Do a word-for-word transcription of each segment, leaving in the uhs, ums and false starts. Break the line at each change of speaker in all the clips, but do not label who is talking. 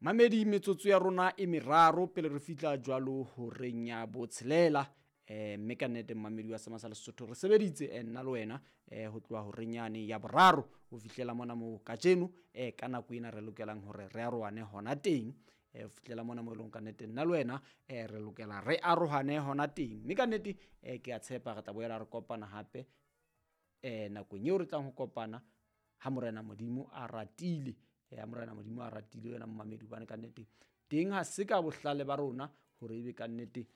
Mamedi, metsotso ya rona e meraro pele re fihla jwalo horeng ya botshelela. um Mme ka nnete mmamedi wa Sema sa Lesotho, re sebeditse eh, nna le wena um ho tloha horeng yane ya boraro ho fihlela mona moo kajeno um ka nako ena re lokelang hore re arohane hona teng. um Ho fihlela mona moo e leng ka nnete nna le wena um re lokela re arohane hona teng. Mme ka nnete um ke a tshepa re tla boela re kopana hape um nakong eo re tlang ho kopana ha Morena Modimo a ratile. Ya Morena Modimo a ratile wena mmamedi, hobane ka nnete teng ha se ka bohlale ba rona hore ebe ka nnete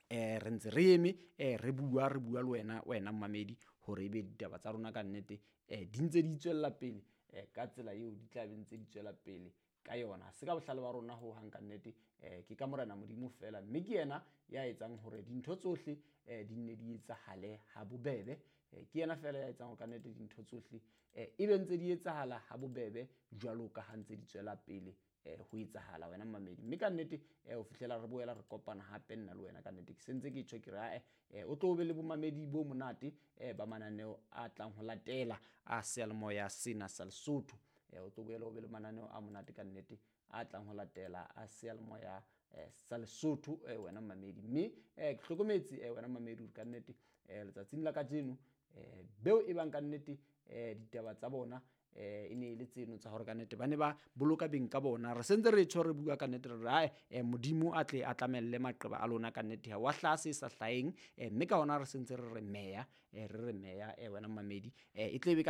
eh re ntse re eme eh re bua re bua le wena wena mmamedi hore ebe ditaba tsa rona ka nnete eh di ntse di tswella pele eh ka tsela eo di tla be ntse di tswela pele ka yona. Ha se ka bohlale ba rona ho hang ka nnete, eh ke ka Morena Modimo fela, mme ke yena ya etsang hore dintho tsohle eh di nne di etsahale ha bobebe. Eh, ke yena fela ya etsang hore ka nnete dintho tsohle eh ebe ntse di etsahala ha bobebe jwalo ka ha ntse di tswela pele eh ho etsahala wena mmamedi. Mme ka nnete eh ho fihlela re boela re kopana hape nna le wena ka nnete ke sentse ke tjho ke re ae eh o tlo be le bomamedi bo monate eh ba mananeo a tlang ho latela a seyalemoya sena sa Lesotho. Eh o tlo boela o be le mananeo a monate ka nnete a tlang ho latela a seyalemoya eh sa Lesotho eh wena mmamedi. Mme eh ke hlokometse eh wena mmamedi hore ka nnete eh letsatsing la kajeno eh beo e bang ka nnete eh ditaba tsa bona eh e ne e le tseno tsa hore ka nnete ba ne ba boloka beng ka bona. Re sentse re tjho re bua ka nnete re re ae eh Modimo a tle a tlamelle maqeba a lona ka nnete, ha wa hlaha se sa hlaheng. eh Mme ka hona re sentse re re meya eh re re meya eh wena mmamedi eh e tle be ka